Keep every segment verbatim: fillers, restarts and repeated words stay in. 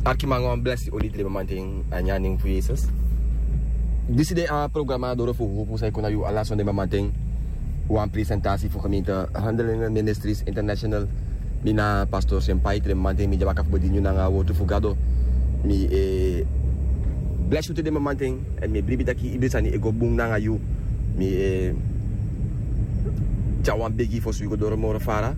Arkiman, wan blesi odi den mamanten a ini a nen fu Yesus. Disi de a programa Doro fu Hopu san e kon na yu ala sonde mamanten. Wan presentasi fu gemeente Handelingen Ministries International. Mi na pastor Senpai. Den mamanten mi de baka fu bedini yu nanga a wortu fu Gado. Mi e blesi yu te den mamanten. Èn mi e bribi taki ibri sani e go bun nanga yu. Mi e tyari wan begi fosi wi go doro moro fara.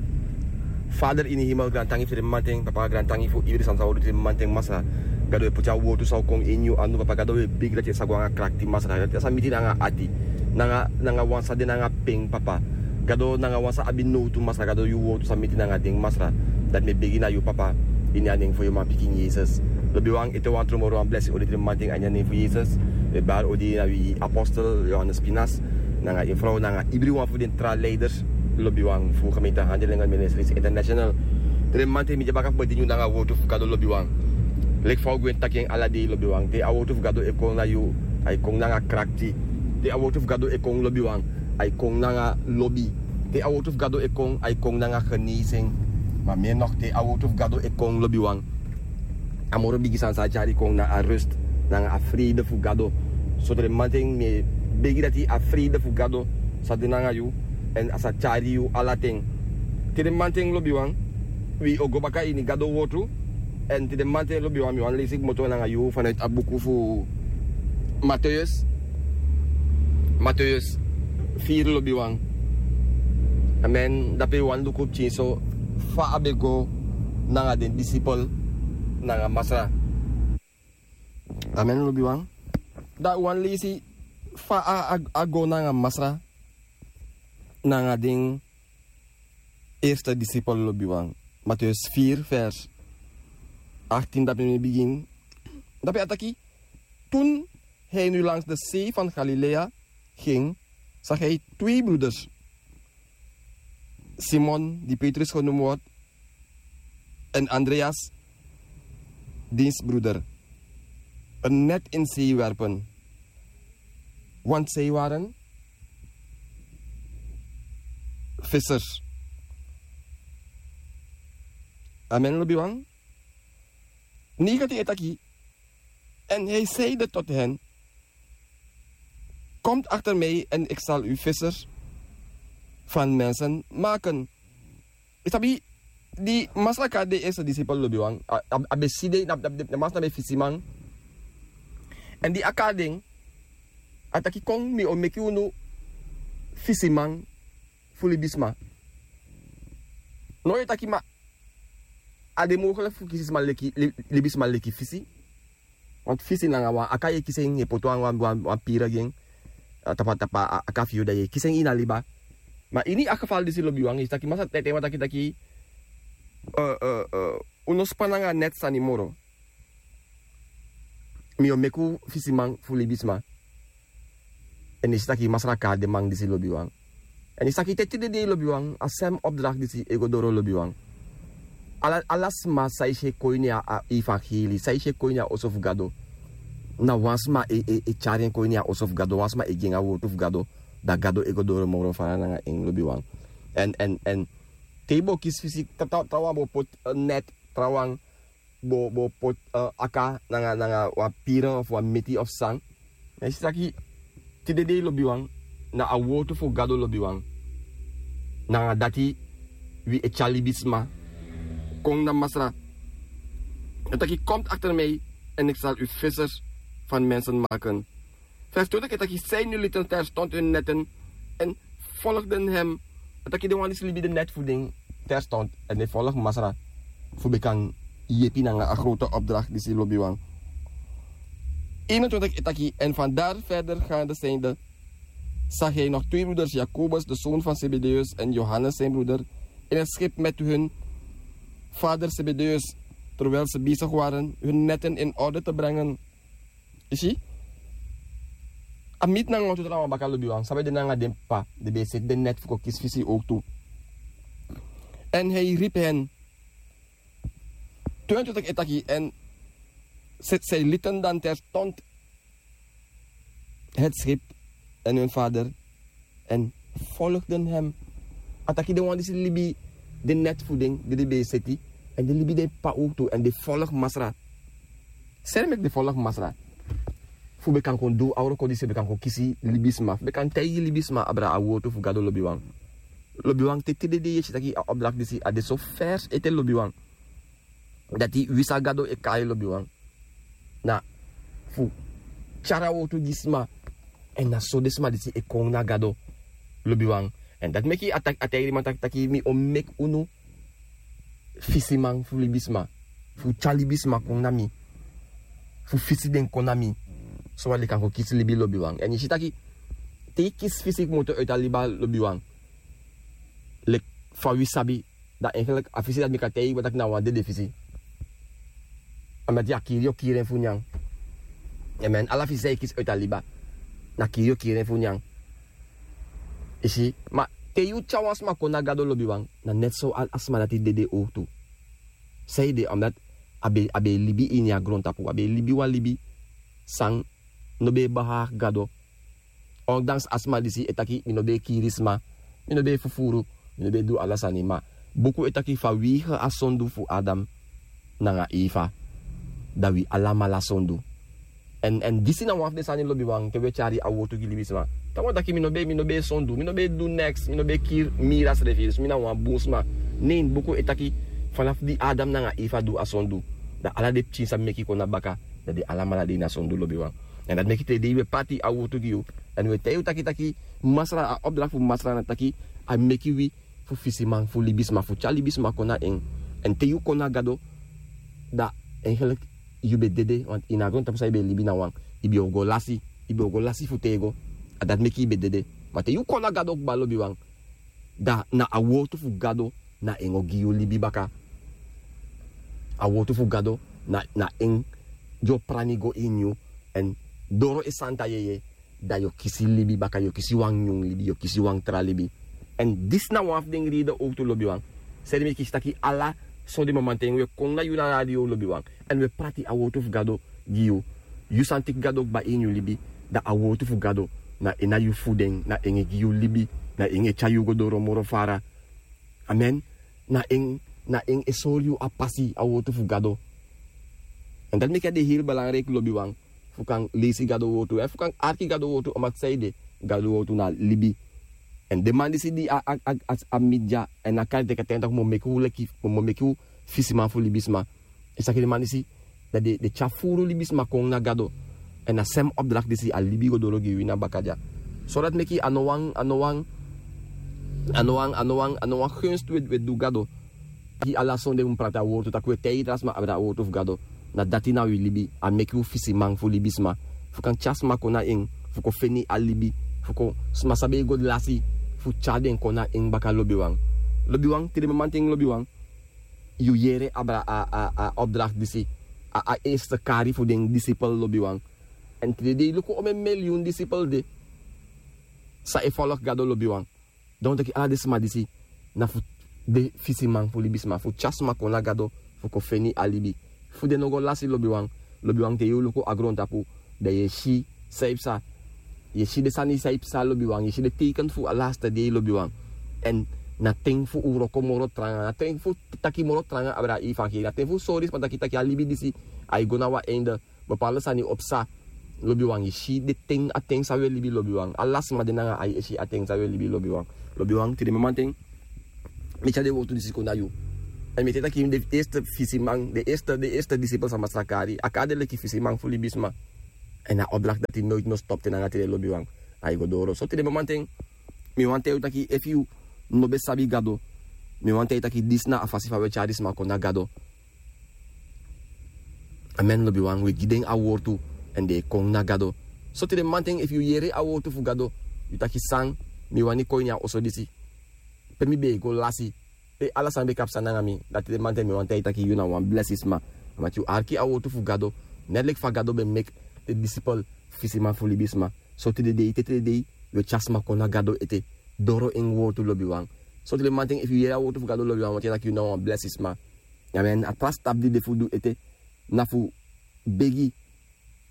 Vader ini hemel, grantangi fu den mamanten. Papa, grantangi fu ibri sani san wi o du te den mamanten, Masra. Gado, e poti a wortu san o kon ini yu anu, Papa. Gado, wi e begi dati e sa go nanga krakti, Masra. Dati e sa miti nanga ati, nanga, nanga wan san de nanga pen, Papa. Gado, nanga wan san abi nowtu, Masra. Gado, yu wortu sa miti nanga den, Masra. Dati mi e begi na yu, Papa, ini a nen fu yu manpikin Yesus. Lobiwan, ete wan tru moro wan blesi odi te den mamanten a ini a nen fu Yesus. Wi e bari odi na wi apostel Johannes Pinas, nanga en frow, nanga ibriwan fu den tra leiders, lobiwan, fu gemeente Handelingen Ministries International. Te den mamanten mi de baka fu bedini yu nanga a wortu fu Gado, lobiwan. Leki fa wi gwenti taki en ala dei, lobiwan. Te a wortu fu Gado e kon na yu, ai kon nanga krakti. Te a wortu fu Gado e kon, lobiwan, ai kon nanga lobi. Te a wortu fu Gado e kon, ai kon nanga genezen. Ma mi e noti te a wortu fu Gado e kon, lobiwan, a moro bigi sani san a tyari kon na a rust nanga a frede fu Gado. So te den mamanten mi e begi dati a frede fu Gado sa de nanga yu, èn a sa tyari yu ala ten. Te den mamanten, lobiwan, wi o go baka ini Gado wortu. Èn te den mamanten, lobiwan, mi wani leisi kmoto nanga yu vanuit a buku fu Mateus. Mateus vier, lobiwan. Amen. Dape wi wani luku pikinso fa a ben go nanga den disipel nanga Masra. Amen, lobiwan. Dan wi wani leisi fa a, a, a go nanga Masra nanga den eerste disipel, lobiwan. Mateus vier vers achttien, dape mi bigin. Dape a taki: Toen hij nu langs de zee van Galilea ging, zag hij twee broeders, Simon, die Petrus genoemd wordt, en Andreas, diens broeder, een net in zee werpen, want zij waren vissers. Amen, lobiwan. Negentien e taki: En hij zeide tot hen: Komt achter mij en ik zal u vissers van mensen maken. Yu sabi, di Masra kari den eerste disipel, lobiwan, a, a, a ben si den, na, na, na Masra na ben fisiman. Èn di a kari den, a taki: Kon, mi o meki unu fisiman fu libisma. No, yu e taki, ma a de mogelijk fu kisi sma leki, li-, libisma leki fisi. Want fisi nanga wan aka, yu e kisi en, yu e poti wan, wan, wan, wan pira gi en, a, tapa, tapa a, aka fu yu, dan yu e kisi en ini a liba. Ma ini a geval disi, lobiwan, yu si taki Masra taigi den man taki, taki, eh, eh, eh, un no span nanga net sani moro. Mi o meki un fisiman fu libisma. Èn yu si taki Masra kari den man disi, lobiwan. Èn yu si taki te tide dei, lobiwan, a sem opdracht disi e go doro, lobiwan. Ala, ala sma san e si e kon ini a, a evangeli, san e si e kon ini a oso fu Gado, na wan sma e, e, e tyari en kon ini a oso fu Gado, wan sma e gi en a wortu fu Gado, dan Gado e go doro moro fara nanga en, lobiwan. Èn, èn, èn te yu bo kisi fisi, tra-, tra-, trawan bo poti, eh, net, trawan bo, bo poti, eh, aka nanga, nanga wan pira of wan meti of san. Ma yu si taki tide dei, lobiwan, na a wortu fu Gado, lobiwan, nanga dati wi e tyari libisma kon na Masra. A taki: Komt achter mij en ik zal u vissers van mensen maken. Vers twintig e taki: Zij nu lieten terstond hun netten en volgden hem. A taki den wan disi libi den net fu den terstond èn den folg Masra fu ben kan yepi nanga a grote opdracht disi, lobiwan. Eenentwintig e taki: En vandaar verder gaande zijnde, zag hij nog twee broeders, Jacobus, de zoon van Zebedeus, en Johannes, zijn broeder, in het schip met hun vader Zebedeus, terwijl ze bezig waren hun netten in orde te brengen. Yu si? A miti nanga wan tu trawan baka, lobiwan, san ben de nanga den p'pa, den ben e seti den net fu kon kisi fisi ook tu. En hij riep hen. Tweeëntwintig e taki: En zij, zij lieten dan terstond het schip en hun vader en volgden hem. A taki den wan disi libi den net fu den di den ben e seti, èn den libi den p'pa ook tu, èn den folg Masra. Seri meki de folok masra fu ben kan kon du a wroko disi, ben kan kon kisi libisma, fu ben kan taigi libisma abra a wortu fu Gado, lobiwan. Lobiwan, te tide dei yu e si taki a opdracht disi a de so vers ete, lobiwan. Dati wi san Gado e kai, lobiwan, na fu tyari a wortu gi sma. Èn na so den sma disi e kon na Gado, lobiwan. Èn dati meki a taki, a taigi den man taki, taki mi o meki unu fisiman fu libisma, fu tyari libisma kon na mi, fu fisi den kon na mi, so wan den kan kon kisi libi, lobiwan. Èn yu si taki te yu kisi fisi kmoto uiti a liba, lobiwan, leki fa wi sabi, dan eigenlijk a fisi dati mi kan taigi yu taki na wan dede fisi. Omdat yu a kiri, yu o kiri en fu nyan. Amen. Ala fisi san yu kisi uiti a liba, na kiri yu o kiri en fu nyan. Yu si, ma te yu tyari wan sma kon na Gado, lobiwan, na net so a, a sma dati dede owktu. Sanede? Omdat a ben, a ben e libi ini a grontapu, a ben e libi wan libi san no ben e behaag Gado. Ondanks a sma disi e taki mi no ben e kiri sma, mi no ben e fufuru, mi no ben e du ala sani, ma buku e taki fa wi heri a sondu fu Adam nanga Eva, dan wi alamala sondu. Èn, èn disi na wan fu den sani, lobiwan, te wi e tyari a wortu gi libisma. Te wan taki mi no ben, mi no ben e sondu, mi no ben e du neks, mi no ben e kiri miri a srefi, dus mi na wan bun sma. Nei, buku e taki, fanafu di Adam nanga Eva du a sondu, dan ala den pikin san meki kon na baka, dan den alamala de ini a sondu, lobiwan. Èn dati meki te dei wi e pati a wortu gi yu, èn wi e taigi yu taki, taki Masra, a opdracht fu Masra na taki a meki wi fu fisiman fu libisma, fu tyari libisma kon na en. Èn te yu kon na Gado, dan eigenlijk yu ben dede, want ini a grontapu san yu ben e libi na wan, yu ben o go lasi, yu ben o go lasi fu tego. A dati meki yu ben dede. Ma te yu kon na Gado kba, lobiwan, dan na a wortu fu Gado na en o gi yu libi baka. A wortu fu Gado na, na en di o prani go ini yu, èn doro en santa yeye, dan yu o kisi libi baka, yu o kisi wan nyun libi, yu o kisi wan tra libi. Èn disi na wan fu den reden owktu, lobiwan. Seri meki yu si taki ala sonde mamanten wi e kon na yu na radio, lobiwan, èn wi e prati a wortu fu Gado gi yu. Yu san teki Gado kba ini yu libi, dan a wortu fu Gado na en na yu fuding, na en e gi yu libi, na en e tyari yu go doro moro fara. Amen. Na en, na en e sori yu a pasi, a wortu fu Gado. Èn dati meki a de heri belangrijk, lobiwan, fu kan leisi Gado wortu, èn fu kan arki Gado wortu, omdat sanede, Gado wortu na libi. Èn den man disi di a, a, a, a, a media, èn a kari teki a ten taki mi o meki un leki, mi o meki un fisiman fu libisma. Yu si taki den man disi, dan den, den tyari furu libisma kon na Gado. Èn a sem opdracht disi a libi go doro gi wi na baka dya. So dati meki a no wan, a no wan, a no wan, a no wan, a no wan gunst wi e, wi e du Gado. Taki ala sonde wi mu prati a wortu, taki wi e taigi tra sma abra a wortu fu Gado. Na dati na wi libi, a meki wi fisiman fu libisma. Fu kan tyari sma kon na en, fu kon feni a libi, fu kon sma san ben e go lasi, fu tyari den kon na en baka, lobiwan. Lobiwan, tide mamanten, lobiwan, yu yere abra a, a, a opdracht disi, a, a eerste kari fu den disipel, lobiwan. Èn tide dei luku omeni miliyun disipel de san e folok Gado, lobiwan. Dan un taki ala den sma disi na fu de fisiman fu libisma, fu tyari sma kon na Gado, fu kon feni a libi, fu den no go lasi, lobiwan. Lobiwan, te yu luku a grontapu, dan yu e si san e psa. Yu e si den sani san e psa, lobiwan. Yu e si den teken fu a laste dei, lobiwan. Èn na ten fu un wroko moro tranga, na ten fu taki moro tranga abra a evangelie, na ten fu sori sma taki, taki a libi disi ai go na wan einde. Bepaalde sani o psa, lobiwan. Yu e si den ten, a ten san wi e libi, lobiwan. Ala sma de nanga ai e si a ten san wi e libi, lobiwan. Lobiwan, tide mamanten mi e tyari den wortu disi kon na yu. Èn mi e taki den eerste fisiman, den eerste, den eerste disipel san Masra kari, a kari den leki fisiman fu libisma. Èn a opdracht dati noiti no stop te nanga tide, lobiwan. Ai go doro. So tide mamanten mi wani taigi yu taki efu yu no ben sabi Gado, mi wani taigi yu taki disi na a fasi fa wi e tyari sma kon na Gado. Amen, lobiwan. Wi e gi den a wortu, èn den e kon na Gado. So tide mamanten, efu yu yere a wortu fu Gado, yu taki san, mi wani kon ini a oso disi, pe mi ben e go lasi, pe ala sani ben kan psa nanga mi. Dan tide mamanten mi wani taigi yu taki yu na wan blesi sma, omdat yu arki a wortu fu Gado. Net leki fa Gado ben meki den disipel fisiman fu libisma, so tide dei, te tide dei yu e tyari sma kon na Gado ete, doro en wortu, lobiwan. So tide mamanten, efu yu yere a wortu fu Gado, lobiwan, mi wani taigi yu taki yu na wan blesi sma. Amen. A tra stap di de fu du ete na fu begi,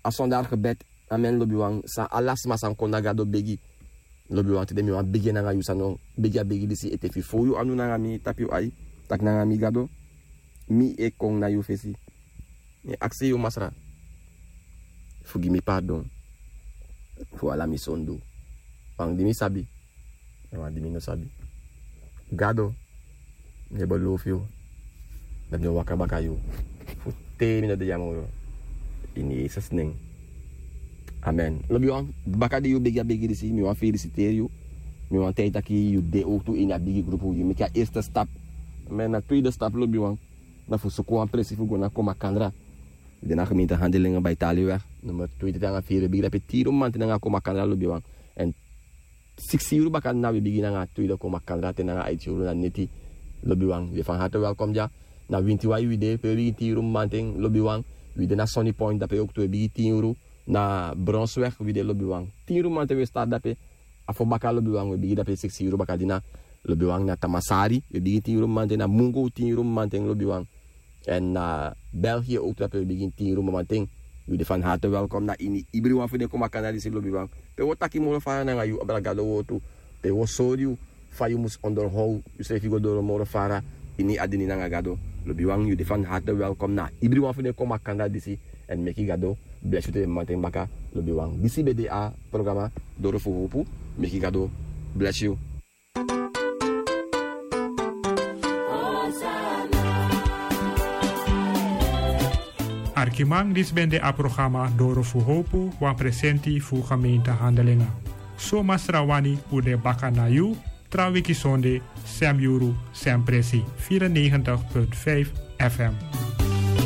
a sondar gebed. Amen, lobiwan. San ala sma san kon na Gado begi, lobiwan. Tide mi wani begi nanga yu, san no begi a begi disi ete. Efu yu fow yu anu nanga mi, tapu yu ai, taki nanga mi: Gado, mi e kon na yu fesi. Mi e aksi yu, Masra, fu gi mi pardon fu ala mi sondu. Wan di mi sabi, èn wan di mi no sabi. Gado, mi e belofu yu dati mi o waka baka yu fu te mi no de ya moro. Ini Yesus nen. Amen. Lobiwan, baka di yu begi a begi disi, mi wani felisiteri yu. Mi wani taigi taki yu de owtu ini a bigi grupu, yu meki a eerste stap. Ma na tweede stap, lobiwan, na fu suku wan presi fu go na Komakandra. Yu de na gemeente Handelingen bij Taliweg, nummer twee te nanga vier, wi bigin dape tin yuru mamanten nanga Komakandra, lobiwan. Èn siksi yuru baka na wi bigin nanga tweede Komakandra te nanga aiti yuru na neti, lobiwan. Wi de van harte welkom dya. Na Wintiwai wi de, pe wi bigin tin yuru mamanten, lobiwan. Wi de na Sunny Point, dape owktu wi bigin tin yuru. Na Bronsweg wi de, lobiwan. Tin yuru mamanten wi e start dape. A fo baka, lobiwan, wi e bigin dape siksi yuru bakadina, lobiwan. Na Tamasari wi e bigin tin yuru mamanten, na Mungo tin yuru mamanten, lobiwan. Èn na België owktu dape wi e bigin tin yuru mamanten. Wi de van harte welkom na ini ibriwan fu den Komakandra disi, lobiwan. Pe wi o taki moro fara nanga yu, abra Gado wortu. Pe wi o sori yu fa yu mus onderhow yusrefi go doro moro fara ini a dini nanga Gado, lobiwan. Yu de van harte welkom na ibriwan fu den Komakandra disi. Èn meki Gado blesi yu te den mamanten baka, lobiwan. Disi ben de a programa Doro fu Howpu. Meki Gado blesi yu. Arkiman, disi ben de a programa Doro fu Howpu, wan presenti fu gemeente Handelingen. So Masra wani, un de baka na yu tra wiki sonde, sem yuru, sem presi, vierennegentig punt vijf F M.